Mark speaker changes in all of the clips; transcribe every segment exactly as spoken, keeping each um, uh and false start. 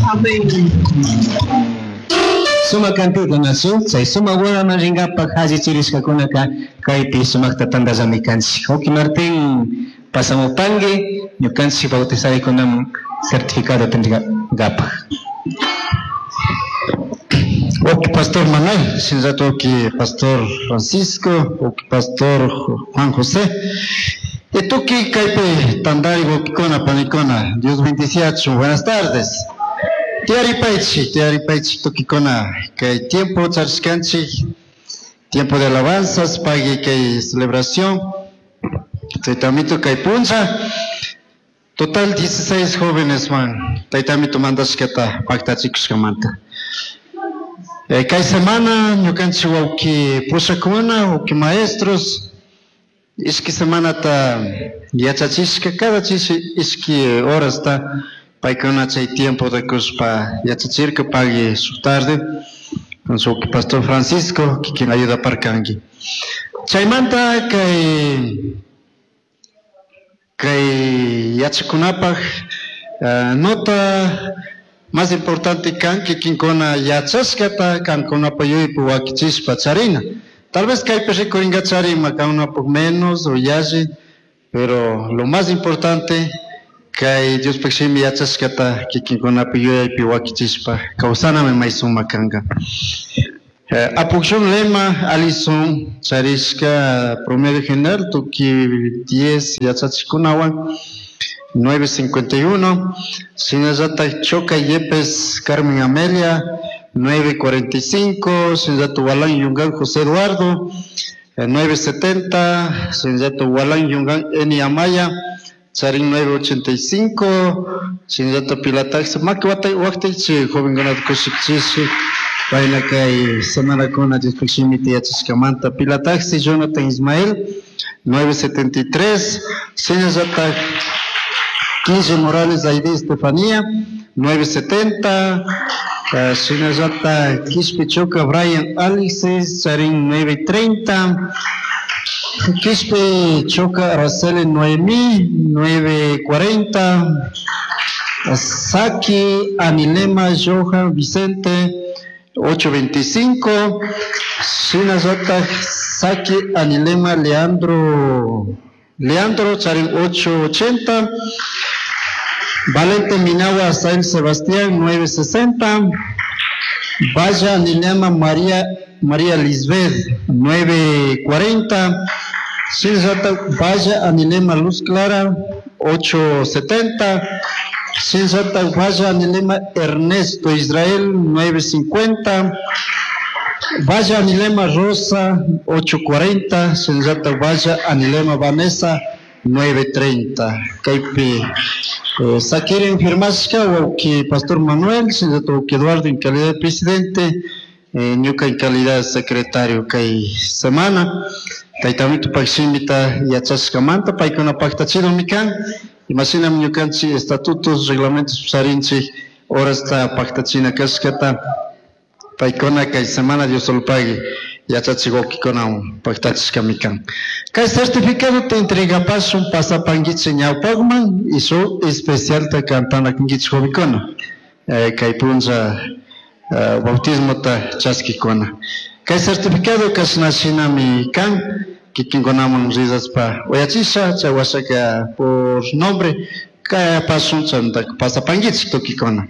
Speaker 1: Amén.
Speaker 2: Suma cantikunachu chay suma bodaman rinkapak allichirishkakunaka kaypi sumakta tantallami kanchik. Wawki Martín pasamupanki ñukanchik bautizarikunaman certificado tendrikapak.
Speaker 3: Wawki Pastor Manuel, shinllatak wawki Pastor Francisco, wawki Pastor Juan José. Y tukuy kaypi tantari wawkikuna panikuna, Dios bendiciachun. Buenas tardes. Tiyaripaychik, tiyaripaychik tukikuna. Kay tiempo charishkanchik, tiempo de alabanzas, pagui kay celebración. Taytamito kay puncha. Total dieciséis jóvenes man. Taytamito mandashkata paktachikushkamanta. Eh, kay semana ñukanchik wawki pushakuna, wawki maestros, ishki semanata yachachishka, cada chishi ishki horasta paykuna chay tiempo de kushpa yachachirka pagui su tarde con su pastor Francisco, quien ayuda parkanki. Chaymanta kay kay yachakunapaj uh, nota más importante kan kikinkuna yachashkata kankunapa yuyaypi wakichishpa charina. Tal vez kaypi rikurinka ima kankunapaj menos o yalli, pero lo más importante kay Diospaj shimi yachashkata kikinkunapi yuyaypi wakichishpa kawsanami may sumak kanka. Eh, Apukshun lema Alison charishka promedio general tukuy diez yachachikunawan nueve cincuenta y uno, shinallatak Choca Yepes Carmen Amelia nueve cuarenta y cinco, shinallatak Walán Yungan José Eduardo eh, nueve setenta, shinallatak Walán Yungan Eni Amaya charin nueve ochenta y cinco, shinallatak Pilataxi maki wata waqtichi jovenkunata kushikchishi payna kay semanakuna Diospaj shimita yachashkamanta. Pilataxi Jonathan Ismael nueve setenta y tres, shinallatak Quince Morales Aide Estefanía nueve setenta, eh, shinallatak Quispe Choca Brian Alexis charin nueve treinta, Quispe Choca Araceli Noemí nueve cuarenta, Saki Anilema Johan Vicente ocho veinticinco, shinallatak Saki Anilema Leandro Leandro charin ocho ochenta, Valente Minagua Asael Sebastián nueve sesenta, Vaya Anilema María, María Lisbeth nueve cuarenta, shinallatak Vaya Anilema Luz Clara ocho setenta, shinallatak Vaya Anilema Ernesto Israel nueve cincuenta, Vaya Anilema Rosa ocho cuarenta, shinallatak Vaya Anilema Vanessa nueve treinta. Kaypi, eh, sakirin firmashka wawki Pastor Manuel, shinallatak wawki Eduardo en calidad de presidente, eh, ñuka en calidad de secretario kay semana. Taytamito shimita yachashkamanta paykuna paktachidomi kan. Imashinami ñukanchik estatutos, reglamentos charinchik horasta paktachina kashkata paykuna kay semana Dios solpagui yachachik wawkikunawan paktachishkami kan. Kay certificado te entregapashun pasapankichik ñawpakman y su especialta kantanakunkichik jovenkuna. Eh, kay punlla, eh, bautismota chaskikuna. Kay certificado kashna shinami kan, kikinkunaman rizaspa uyachisha, chay washaka por nombre, kay pasun chanta pasapankichik tukikuna.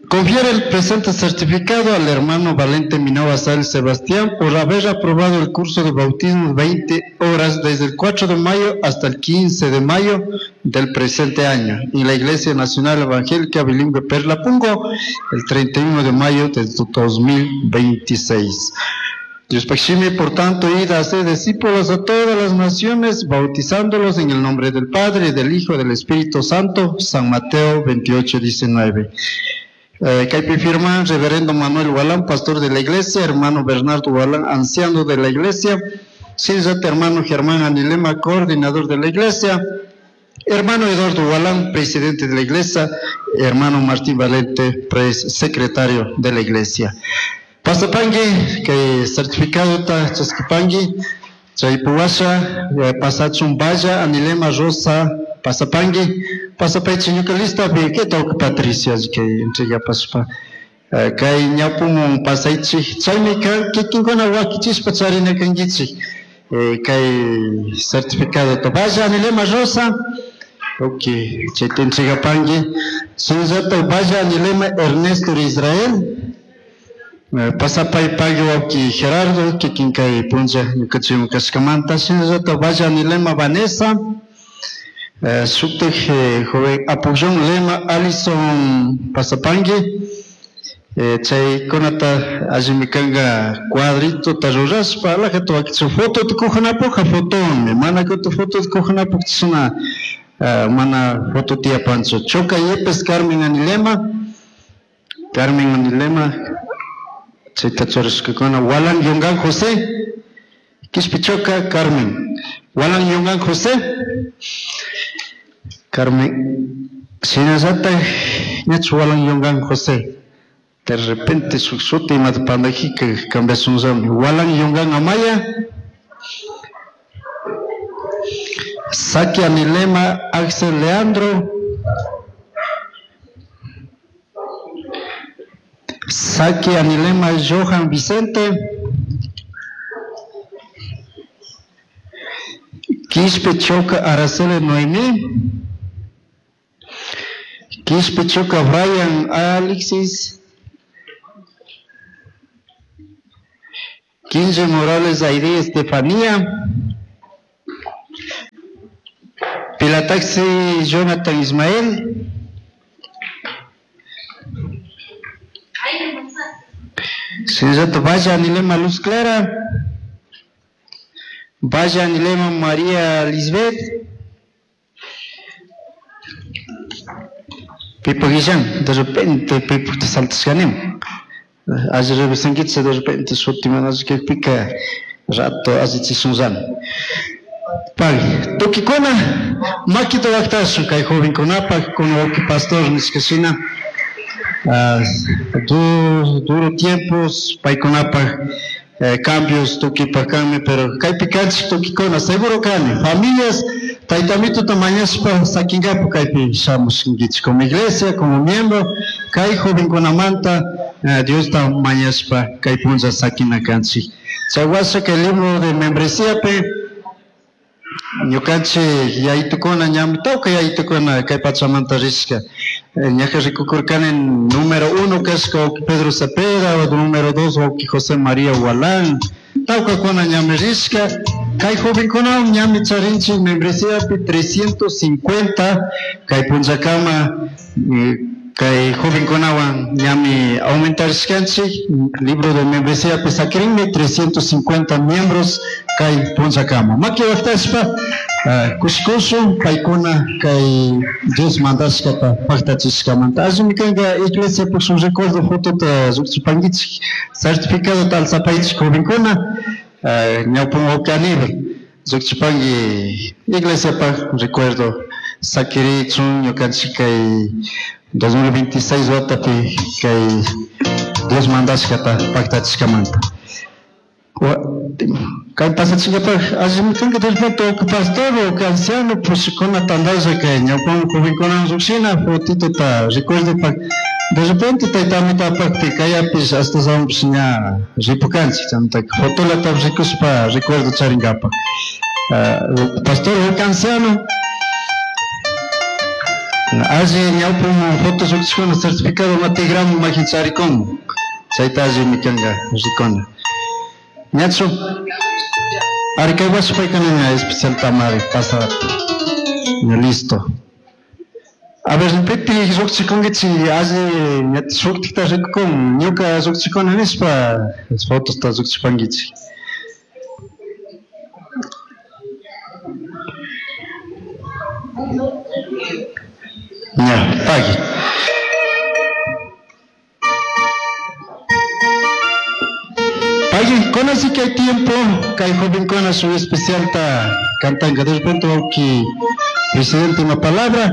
Speaker 3: Confiere el presente certificado al hermano Valente Minova Sal Sebastián por haber aprobado el curso de bautismo veinte horas desde el cuatro de mayo hasta el quince de mayo del presente año en la Iglesia Nacional Evangélica Bilingüe Perla Pungo el treinta y uno de mayo de dos mil veintiséis. Dios Pachimi, por tanto, id a hacer discípulos a todas las naciones, bautizándolos en el nombre del Padre, del Hijo y del Espíritu Santo. San Mateo veintiocho, diecinueve. Eh, kaypi firma Reverendo Manuel Walán, pastor de la iglesia, hermano Bernardo Walán, anciano de la iglesia, Sinzate, hermano Germán Anilema, coordinador de la iglesia, hermano Eduardo Walán, presidente de la iglesia, hermano Martín Valente, pres-, secretario de la iglesia. Pasapangui, que certificado ta chaskipangui, chaypuwasha, eh, pasachun vaya, Anilema Rosa, pasapangui, Pasapaychi ñuka listapi kay tawka Patricia kay entregapaspa kay ñawpumun pasaychik chaymi kikinkuna wakichispa charina kankichik kay certificado. Vaya Anilema Rosa, ok, chayta entregapanki. Shinallata vaya Anilema Ernesto Israel, pasapay pagui wawki Gerardo kikin kay punlla ñukanchikwan kashkamanta. Shinallata vaya Anilema Vanessa, shuktak joven Apullón Lema Alison pasapanki. Chaykunata allimi kanka cuadritota rurashpa alajata wakichun fotota kujanapukka fotomi mana kutin fotota kujanapuk chashna mana foto tiyapanchu. Choca Yepes Carmen Anilema, Carmen Anilema chayta churashkakuna. Walan Yungan José, Quispe Choca Carmen, Walan Yungan José, Carmen, shinallata ñachu Walan Yungan José. De repente shuk shuti imata pandajika cambiashunllami. Walan Yungan Amaya, Saki Anilema Axel Leandro, Saki Anilema Johan Vicente, Quispe Choca Araceli Noemí, Quispe Choca Brian Alexis, Quince Morales Aide Estefanía, Pilataxi Jonathan Ismael, Señorita Vaya Anilema Luz Clara, Vaya Anilema María Lisbeth, Pipo Guillán, de repente Pipo te saltas ganem. Ayer revisankicha de repente shuti mana kikpika rato allichishunllami. Pagui, tukikuna makita waktashun kay jovenkunapak kun wawki pastor nishkashina duro, duro tiempos paykunapak eh, cambios tukipak kanmi, pero kaypi kanchik tukikuna seguro kani familias taytamituta mañashpa sakinkapu kaypi shamushkankichik como iglesia, como miembro kay jovenkunamanta eh, Diosta mañashpa kay punlla sakina kanchik. Chay washa kay libro de membresíapi ñukanchik yaytukuna ñami tawka yaytukuna kay pachamanta rishka. Ñaja rikukurkani número uno kashka wawki Pedro Cepeda, número dos wawki José María Walán, tawkakuna ñami rishka. Kay jovenkunawan ñami charinchik membresíapi trescientos cincuenta kay punllakama eh, kay jovenkunawan ñami aumentarishkanchik libro de membresíapi sakirinmi trescientos cincuenta miembros kay punllakama. Maki waktashpa kushikushun paykuna kay Dios mandashkata paktachishkamanta. Allimi kanka iglesia shuk recuerdo fotota llukchipankichik certificadota alzapaychik jovenkuna ñawpun wawki Aníbal llukchipanki iglesiapak recuerdo sakirichun ñukanchik kay dos mil veintiséis watapi kay Dios mandashkata paktachishkamanta. Kay pasachinkapak allimi kanka de repente wawki pastor wawki anciano pushikuna tandalla kay ñawpun jovenkuna llukshina fotitota recuerdopak de repente taytamitapakpi kayapish hasta sawanpish ña ripukanchik chaymantaka fotolatapish rikushpa recuerdo charinkapak. Pastor wawki anciano alli ñawpun foto llukchikuna certificado matigramu makin charikun chayta allimi kanka rikuna. Ñachu ari kay washa paykuna ña especial tamari pasa ña listo. A ver, pipi llukchikunkichik alli ña shuktikta rikukun ñuka llukchikuna nishpa fotosta llukchipankichik. Ña, pagui. Pagui, conoce que hay tiempo, kay jovenkuna su especial ta cantanka. De repente wawki presidente una palabra,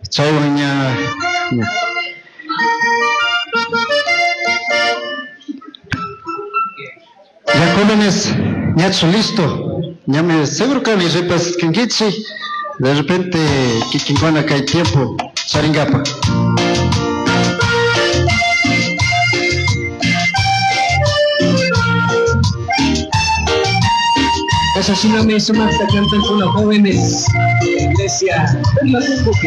Speaker 3: chaywan ña, ña. Ya jóvenes, ñachu listo. Ñami seguro kani repaskankichik. De repente kikinkuna kay tiempo charingapa.
Speaker 2: Kasha shinami sumakta cantan kuna jóvenes de la iglesia Perla Buque.